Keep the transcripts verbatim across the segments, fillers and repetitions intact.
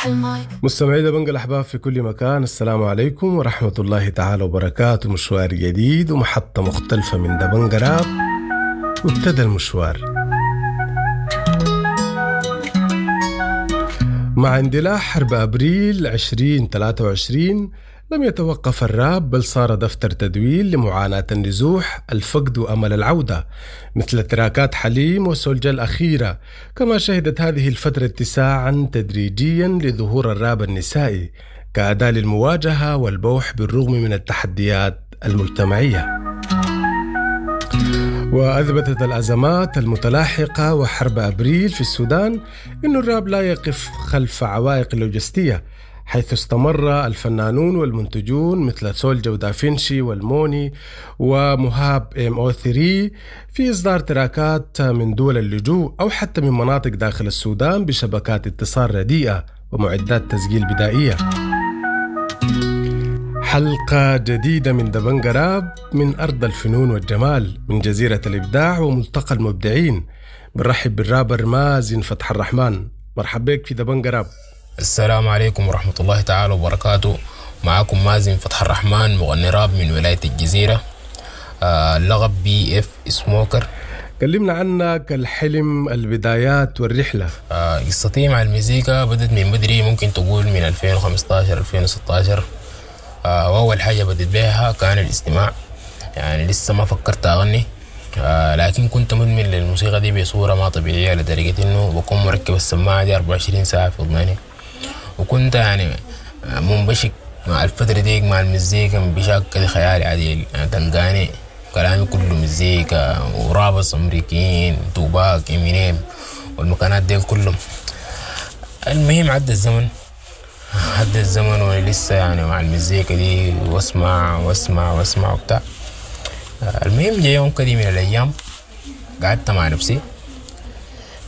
افتح المايك. مستمعي دبنجة الأحباب في كل مكان، السلام عليكم ورحمة الله تعالى وبركاته. مشوار جديد ومحطة مختلفة من دبنجة راب، وابتدى المشوار مع اندلاع حرب أبريل عشرين ثلاثة وعشرين. لم يتوقف الراب، بل صار دفتر تدوين لمعاناة النزوح، الفقد وأمل العودة، مثل تراكات حليم وسولجا الأخيرة. كما شهدت هذه الفترة اتساعا تدريجيا لظهور الراب النسائي كأداة للمواجهة والبوح بالرغم من التحديات المجتمعية. وأثبتت الأزمات المتلاحقة وحرب أبريل في السودان أن الراب لا يقف خلف عوائق لوجستية، حيث استمر الفنانون والمنتجون مثل سولجا ودافنشي والموني ومهاب ام او ثري في إصدار تراكات من دول اللجوء أو حتى من مناطق داخل السودان بشبكات اتصال رديئة ومعدات تسجيل بدائية. حلقة جديدة من دبنجة راب من أرض الفنون والجمال، من جزيرة الإبداع وملتقى المبدعين. بنرحب بالرابر مازن فتح الرحمن. مرحبا بك في دبنجة راب. السلام عليكم ورحمة الله تعالى وبركاته. معاكم مازن فتح الرحمن، مغني راب من ولاية الجزيرة، آه اللقب بي اف سموكر. كلمنا عنك، الحلم، البدايات والرحلة. آه قصتي مع المزيكا بدت من بدري، ممكن تقول من ألفين وخمستاشر ألفين وستاشر. آه وأول حاجة بدت بها كان الاستماع، يعني لسه ما فكرت أغني، آه لكن كنت مدمن للموسيقى دي بصورة ما طبيعية، لدرجة إنه بكون مركب السماعة دي أربعة وعشرين ساعة في أذني، وكنت يعني منبشك مع الفترة دي مع المزيكا بشكل خيالي عديل. يعني تلقاني كلامي كله مزيكا و rappers أمريكيين، توباك، إمينيم، والمكانات دي كلهم. المهم عدى الزمن، عدى الزمن وأنا لسه يعني مع المزيكا دي، واسمع واسمع واسمع وبتاع. المهم جاء يوم كدي من الأيام قعدت مع نفسي،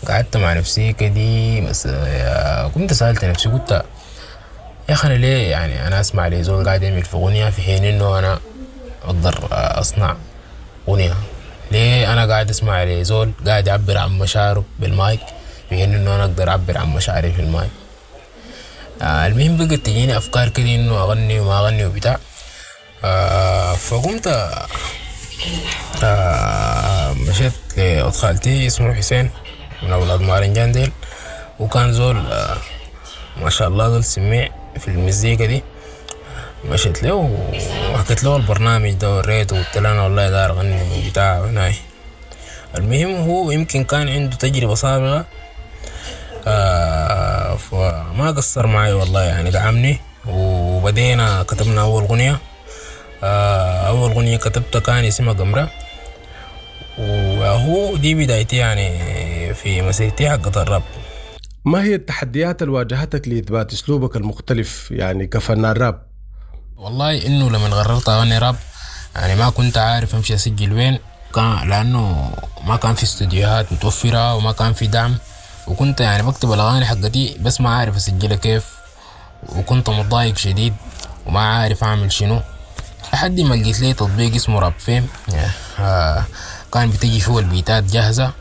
قعدت مع نفسي كدي، بس كنت سألت نفسي، قلت يا أخي أنا ليه يعني أنا أسمع لي زول قاعد يعمل في أغنية في حين إنه أنا أقدر أصنع أغنية؟ ليه أنا قاعد أسمع لي زول قاعد يعبر عن مشاعره بالمايك في حين إنه أنا أقدر أعبر عن مشاعري في المايك؟ آه المهم بقت تجيني أفكار كده إنه أغني وما أغني وبتاع. آه فقمت، آه مشيت لأخت خالتي اسمه حسين من أولاد مارنجان ديل، وكان زول، آه ما شاء الله زول سميع في المزيكا دي. مشيت له وحكيت له البرنامج ده وريته، وقلت له أنا والله داير أغني وبتاع وهناي. المهم هو يمكن كان عنده تجربة سابقة، آه فما قصر معي والله، يعني دعمني وبدينا كتبنا أول غنية. آه أول غنية كتبتها كان اسمها قمرة، وهو دي بدايتي يعني في مسيرتي حقت الراب. ما هي التحديات اللي واجهتك لإثبات أسلوبك المختلف يعني كفنان راب؟ والله إنه لما قررت أغني راب يعني ما كنت عارف أمشي أسجل وين، كان لأنه ما كان في استوديوهات متوفرة وما كان في دعم، وكنت يعني بكتب الأغاني حقتي بس ما عارف أسجلها كيف، وكنت متضايق شديد وما عارف أعمل شنو، لحد ما لقيت لي تطبيق اسمه راب فيم. آه، كان بتجي فيه البيتات جاهزة،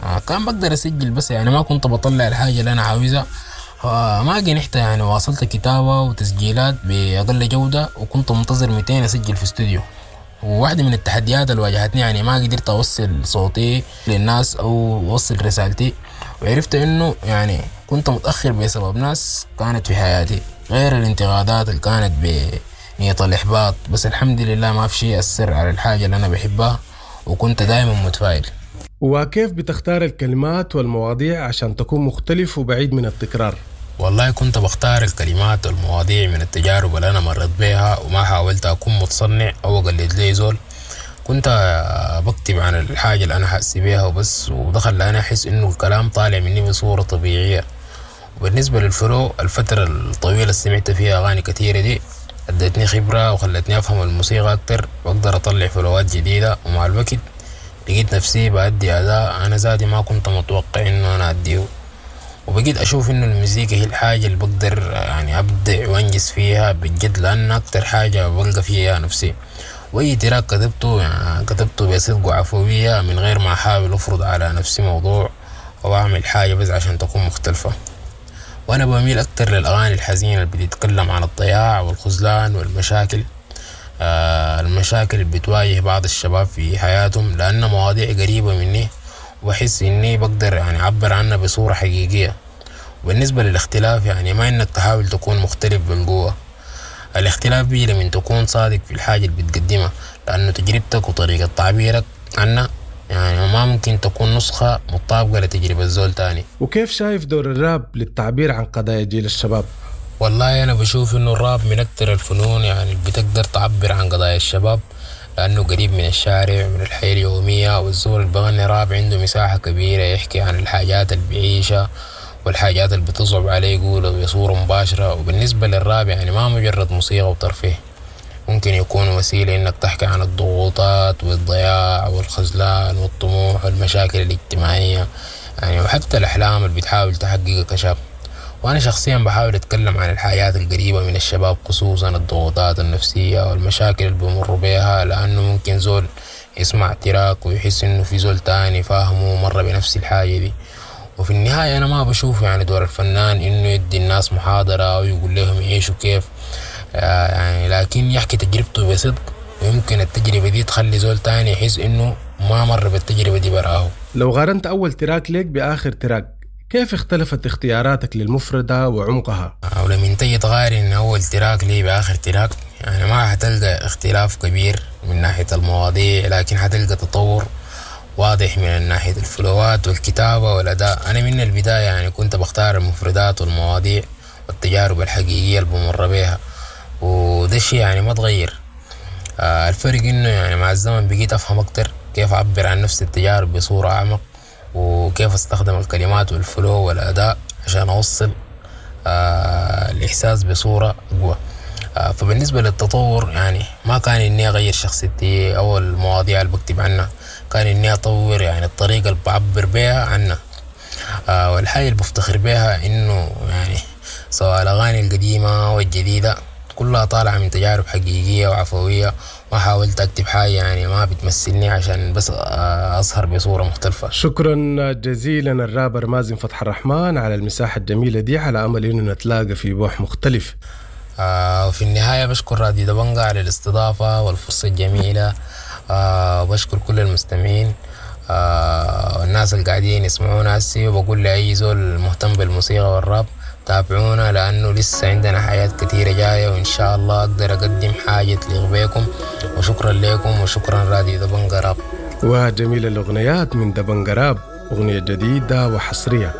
آه، كان بقدر أسجل بس يعني ما كنت بطلع الحاجة اللي أنا عاوزها. آه، ما جنحت يعني، واصلت كتابة وتسجيلات بأقل جودة، وكنت منتظر ميتين أسجل في استوديو. وواحدة من التحديات اللي واجهتني يعني ما قدرت أوصل صوتي للناس أو أوصل رسالتي، وعرفت إنه يعني كنت متأخر بسبب ناس كانت في حياتي، غير الانتقادات اللي كانت بنية الإحباط. بس الحمد لله ما في شيء أثر على الحاجة اللي أنا بحبها، وكنت دايما متفائل. وكيف بتختار الكلمات والمواضيع عشان تكون مختلف وبعيد من التكرار؟ والله كنت بختار الكلمات والمواضيع من التجارب اللي أنا مريت بيها، وما حاولت أكون متصنع أو أقلد لي زول. كنت بكتب عن الحاجة اللي أنا حاسس بيها وبس، ودخل أنا أحس إنه الكلام طالع مني بصورة طبيعية. وبالنسبة للفلو، الفترة الطويلة اللي سمعت فيها أغاني كثيرة دي ادتني خبرة وخلتني أفهم الموسيقى أكتر، وأقدر أطلع فلوات جديدة. ومع الوقت لقيت نفسي بأدي أداء أنا ذاتي ما كنت متوقع إنه أنا أديه، وبقيت أشوف إنه المزيكا هي الحاجة اللي بقدر يعني أبدع وأنجز فيها بجد، لأن أكتر حاجة بلقى فيها نفسي. وأي تراك كتبته يعني كتبته بصدق وعفوية من غير ما أحاول أفرض على نفسي موضوع أو أعمل حاجة بس عشان تكون مختلفة. وأنا بميل أكتر للأغاني الحزينة اللي بتتكلم عن الضياع والخذلان والمشاكل، آه، المشاكل اللي بتواجه بعض الشباب في حياتهم، لأن مواضيع قريبة مني وبحس إني بقدر يعني أعبر عنها بصورة حقيقية. وبالنسبة للاختلاف يعني ما إنك تحاول تكون مختلف بالقوة، الاختلاف بيجي لمن تكون صادق في الحاجة اللي بتقدمها، لأنه تجربتك وطريقة تعبيرك عنها يعني ما ممكن تكون نسخة مطابقة لتجربة زول تاني. وكيف شايف دور الراب للتعبير عن قضايا جيل الشباب؟ والله أنا بشوف إنه الراب من أكتر الفنون يعني اللي بتقدر تعبر عن قضايا الشباب، لأنه قريب من الشارع ومن الحياة اليومية، والزول اللي بغني راب عنده مساحة كبيرة يحكي عن الحاجات اللي بيعيشها والحاجات اللي بتصعب عليه يقولها بصورة مباشرة. وبالنسبة للراب يعني ما مجرد موسيقى وترفيه، ممكن يكون وسيلة إنك تحكي عن الضغوطات والضياع والخذلان والطموح والمشاكل الاجتماعية يعني، وحتى الأحلام اللي بتحاول تحققها كشاب. وأنا شخصيا بحاول أتكلم عن الحياة القريبة من الشباب، خصوصا الضغوطات النفسية والمشاكل اللي بيمروا بيها، لأنه ممكن زول يسمع track ويحس إنه في زول تاني فاهمه ومر بنفس الحاجة دي. وفي النهاية أنا ما بشوف يعني دور الفنان إنه يدي الناس محاضرة أو يقول لهم يعيشوا كيف، يعني لكن يحكي تجربته بصدق، ويمكن التجربة دي تخلي زول تاني يحس إنه ما مر بالتجربة دي براه. لو قارنت أول track لك بآخر track، كيف اختلفت اختياراتك للمفردة وعمقها؟ ولما تيجي تقارن أول track لي بآخر track يعني ما حتلقى اختلاف كبير من ناحية المواضيع، لكن حتلقى تطور واضح من ناحية الفلوات والكتابة والأداء. أنا من البداية يعني كنت بختار المفردات والمواضيع والتجارب الحقيقية اللي بمر بيها، وده الشيء يعني ما تغير. آه الفرق إنه يعني مع الزمن بقيت أفهم أكتر كيف أعبر عن نفس التجارب بصورة أعمق، وكيف أستخدم الكلمات والفلو والأداء عشان أوصل آه الإحساس بصورة أقوى. آه فبالنسبة للتطور يعني ما كان إني أغير شخصيتي أو المواضيع اللي بكتب عنها، كان إني أطور يعني الطريقة اللي بعبر بيها عنها. آه والحاجة اللي بفتخر بيها إنه يعني سواء الأغاني القديمة والجديدة كلها طالعة من تجارب حقيقية وعفوية، ما حاولت أكتب حاجة يعني ما بتمثلني عشان بس أظهر بصورة مختلفة. شكرا جزيلا الرابر مازن فتح الرحمن على المساحة الجميلة دي، على أمل إنه نتلاقى في بوح مختلف. آه وفي النهاية بشكر راديو دبنجا على الاستضافة والفرصة الجميلة، آه وبشكر كل المستمعين آه والناس اللي قاعدين يسمعونا هسي، وبقول لأي زول مهتم بالموسيقى والراب تابعونا، لأنه لسه عندنا حاجات كثيرة جاية، وإن شاء الله أقدر أقدم حاجة تليق بيكم. وشكرا لكم، وشكرا راديو دبنجا راب. وجميل الأغنيات من دبنجا راب، أغنية جديدة وحصرية.